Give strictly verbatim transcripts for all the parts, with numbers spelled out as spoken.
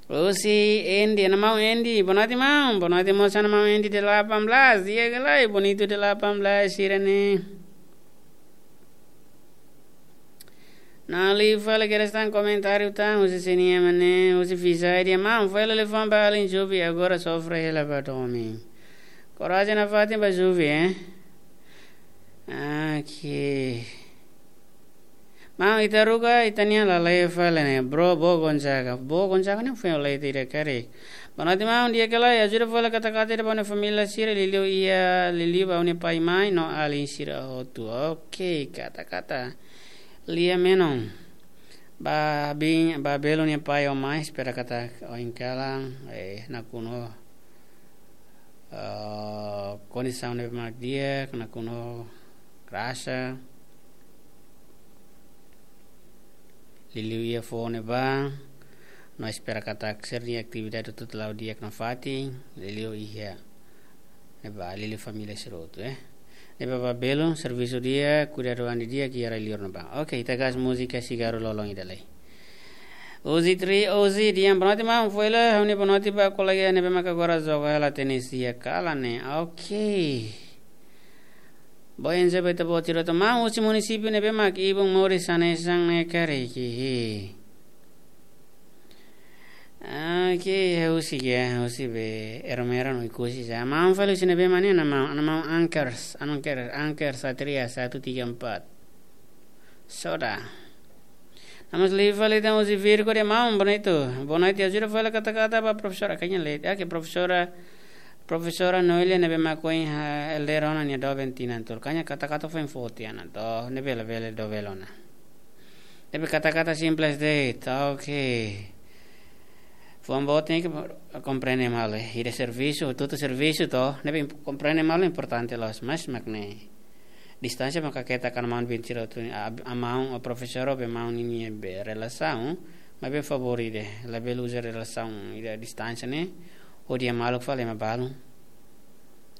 Husi Endi, ana maun Endi, boa noite maun, boa noite mós ana maun Endi delapan belas, di'ak ka lae, bonitu delapan belas sira ne'e. Nali fali kedas tan komentáriu tan, husi sini mana, husi Fisai dehan maun, fali liafuan ba alin Jubi, agora sofre hela ba domin. Korajen nafatin ba Jubi, eh? Oke. Maun, ita haruka, ita-nian lale'e fali ne'e, bro, Bo Gonzaga. Bo Gonzaga ne'e foin lei tira kari. Boa noite maun, di'ak ka lae, ajuda fali kata-kata ida ba ha'u-nia família sira, liuliu iha, liuliu ba ha'u-nia pai mãe, no alin sira hotu. Oke, kata-kata. Lia menon. Ba bin, ba belun nia pai ho mãe, espera katak oin kalan, eh, nakonu, eh, kondisaun ne'ebé mak di'ak, nakonu grasa. Liuliu iha foho ne'ebá, no espera katak sira-nia atividade hotu la'o di'ak nafatin, liuliu iha ne'ebá, liuliu família sira hotu, eh. Ne'ebé ba belun, servisu di'ak, kuidadu an di'ak, iha rai liur ne'ebá. Oke, ita gas múzika sigaru lolon ida lai. Uzi Tri, Uzi, dehan boa noite maun, fali ha'u-nia boa noite ba kolega ne'ebé maka agora joga hela tenis iha kalan ne'e. Oke. Boa, enjoy ba ita-boot sira hotu maun, husi munisípiu ne'ebé mak ibun moris hanesan ne'e karik, hihi. Oke, husi ke, husi be, Ermera no Ikusi sa. Maun fali husi ne'ebé mak ne'e, ana maun, ana maun Anchors, Anchor, Anchor Satria satu tiga empat. Soda. Namas liu fali tan husi Virgo dehan maun, boa noite. Boa noite, ajuda fali kata-kata ba profesora, kanya le, oke, profesora, profesora Noelia ne'ebé mak ohin ha, elder ona nia doben tinan tolu. Kanya kata-kata foin foti ana, to, ne'ebé labele dobel ona. Tapi kata-kata simples de'it, oke. Fuan boot ne'e ke komprende malu, eh. Ida servisu, tutu servisu to, ne'ebé imp-, komprende malu importante loos, mas mak ne'e. Distánsia maka keta kan maun bin sira hotu, a, a maun, o profesora be maun ninia be relasaun, maibé favór ida, labele uza relasaun, ida distánsia ne'e, hodi iha maluk fali ema balun.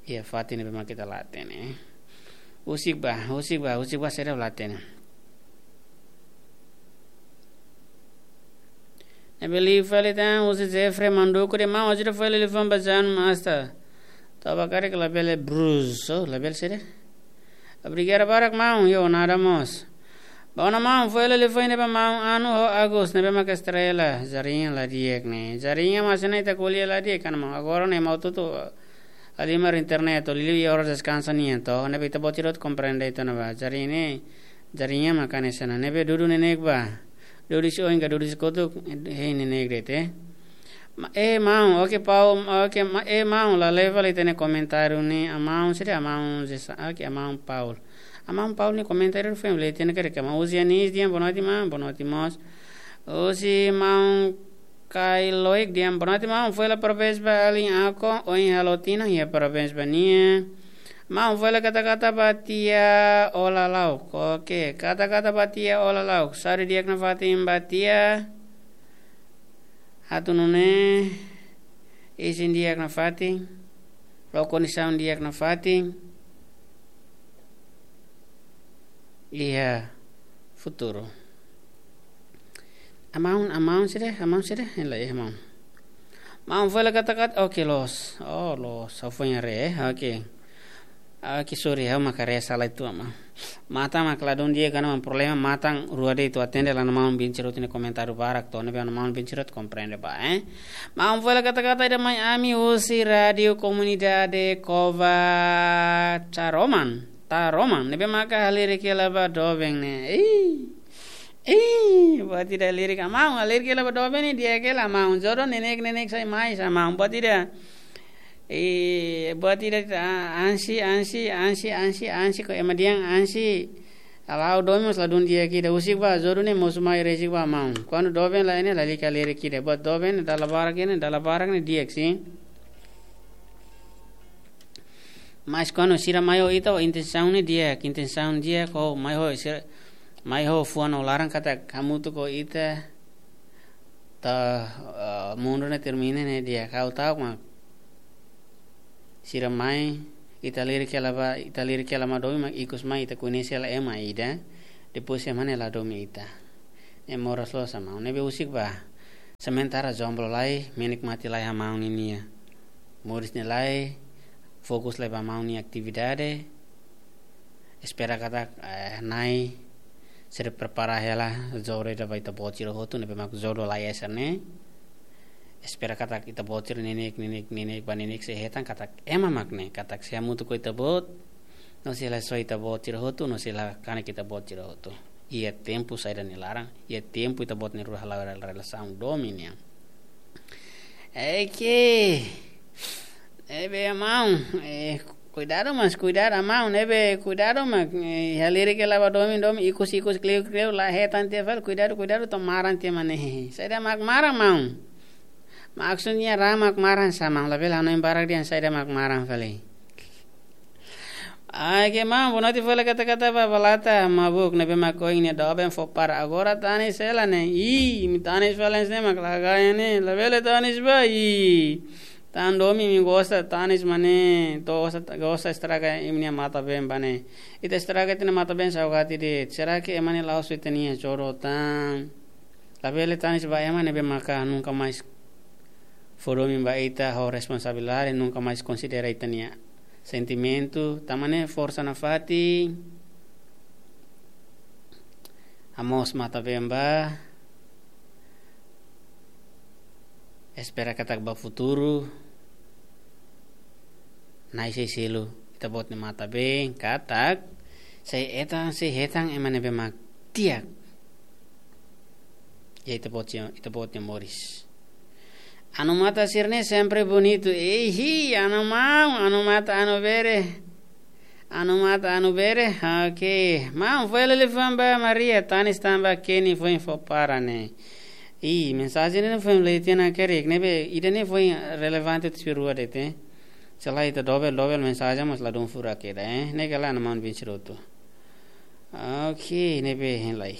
Iha fatin ne'ebé mak ita la hatene. Husik ba, husik ba, husik ba sira la hatene. Ne'ebé liu fali tan, husi Jeffrey Manduku dehan maun, ajuda fali liafuan ba Jan Master. Tau ba karik labele Bruce, oh, labele sede. Obrigadu barak maun, yo, nada mós. Ba ona maun, fali liafuan ba maun Anu ho Agus, ne'ebé maka estrela, jarinha la di'ak ne'e. Jarinha mak hanesan ita ko'alia la di'ak ona maun. Agora ne'e maun tutu halimar internet, liuliu iha oras deskansa nian to. Ne'ebé ita-boot sira hotu komprende ita ona ba. Jarinha ne'e, jarinha mak hanesan ne'e. Ne'ebé dudu neineik ba. Dudu husi oin ka dudu husi kotuk, hein neineik de'it, eh. Ma-, eh, maun, oke, Paul, oke, ma-, eh, maun, lale'e fali ita-nia komentáriu ne'e, a maun, sede a maun, Zesa, oke, a maun Paul. A maun Paul nia komentáriu foin lei ita-nia karik, maun Uzi Anis dehan, boa noite, maun, boa noite, mós. Husi maun Kai Loik dehan, boa noite, maun, fali parabéns ba alin Ako, ohin halo tinan, iha parabéns ba nia. Maun, fali kata-kata ba tia Ola Lauk. Oke, kata-kata ba tia Ola Lauk. Saúde di'ak nafatin ba tia. Atu nune'e isin di'ak nafatin. La'o kondisaun di'ak nafatin. Iha futuru. A maun, a maun sede, a maun sede, hela iha maun. Maun fali kata-kata, oke, loos. Oh, loos, ha'u foin haree, eh, oke. Oke, sorry, ha'u mak haree sala uitoan maun. Matan mak ladún di'ak ona maun, problema matan rua de'it, atu atende la maun bin sira hotu nia komentáriu barak to, ne'ebé maun bin sira hotu komprende ba, eh. Maun fali kata-kata ida mai ami husi Rádiu Komunidade Cova Taroman. Taroman, ne'ebé maka halerik hela ba doben ne'e. Ih. Ih, buat ida halerik, a maun, halerik hela ba doben ne'e di'ak hela maun. Jodoh neineik-neineik sai mai sa maun. Buat ida. Eh, buat ida, ah, ansi, ansi, ansi, ansi, ansi, ko ema dehan ansi. Halo domin mós ladún di'ak ida, husik ba, jodoh ne'e mosu mai resik ba maun. Kuandu doben la iha ne'e lalika halerik ida. Buat doben, dala barak ne'e, dala barak ne'e di'ak, sin. Mas kuandu sira mai ho ita, ho intensaun ne'e di'ak, intensaun di'ak, ho mai ho sira, mai ho fuan no laran katak hamutuk ho ita, to'o, eh, mundu ne'e termina ne'e di'ak, ha'u ta'uk mak. Sira mai, ita halerik hela ba, ita halerik hela mai domin mak ikus mai ita koñese hela ema ida, depois ema ne'e la domin ita. Ne'e moras loos sa maun, ne'ebé husik ba. Sementara jomblo lai, menikmati lai hamaun ninia moris ne'e lai, fokus lai ba maun nia atividade. Espera katak, eh, Na'i sei prepara hela jodoh ida ba ita-boot sira hotu ne'ebé mak jodoh lai hanesan ne'e. Espera katak ita-boot sira neineik, neineik, neineik ba neineik sei hetan katak ema mak ne'e, katak sei hamutuk ho ita-boot, no sei la soe ita-boot sira hotu, no sei la kanek ita-boot sira hotu. Iha tempu saida nia laran, iha tempu ita-boot nia rua hala'o relasaun domin nian. Oke. Ne'ebé maun, eh, kuidadu mas kuidadu maun, ne'ebé kuidadu mak, eh, halerik hela ba domin, domin, ikus, ikus, kleur, kleur, la hetan tiha fali, kuidadu, kuidadu, to'o maran tiha mak ne'e. Saida mak maran maun? Maksudnya ra mak maran sá maun, labele hanoin barak dehan saida mak maran fali. Ai, ke maun, bonoite fó hela kata-kata ba balata mabuk ne'ebé mak oin nia doben fó para agora tanis hela ne'e. Ih, imi tanis fali hanesan ne'e mak la ganha ne'e, labele tanis ba, ih. Tan domin imi gosta tanis mak ne'e, to'o gosta, gosta estraga imi-nia matan-been ba ne'e. Ita estraga ita-nia matan-been saugati de'it. Será que ema ne'e la'ós ita-nia jodoh tan? Labele tanis ba ema ne'ebé maka nunka mais fó domin ba ita ho responsabilidade, nunka mais konsidera ita-nia sentimentu, tanba ne'e forsa nafatin, hamoos matan-been ba, espera katak ba futuru, Na'i sei selu ita-boot nia matan-been, katak sei hetan, sei hetan ema ne'ebé mak di'ak iha ita-boot nia, ita-boot nia moris. Anu matan sira-ne'e sempre bonitu. Ei, hi, anu maun, anu matan, anu bere. Anu matan, anu bere. Oke. Maun, fó hela liafuan ba Maria, tanis tan ba Kenny, foin fó para ne'e. Ih, mensajen ne'e foin lee tiha ona kerik, ne'ebé ida-ne'e foin relevante tuir rua de'it, eh. Se lae ita dobel, dobel mensajen mós ladún furak ida, eh. Ne'e kala na maun bin siroto. Oke, ne'ebé hein lai.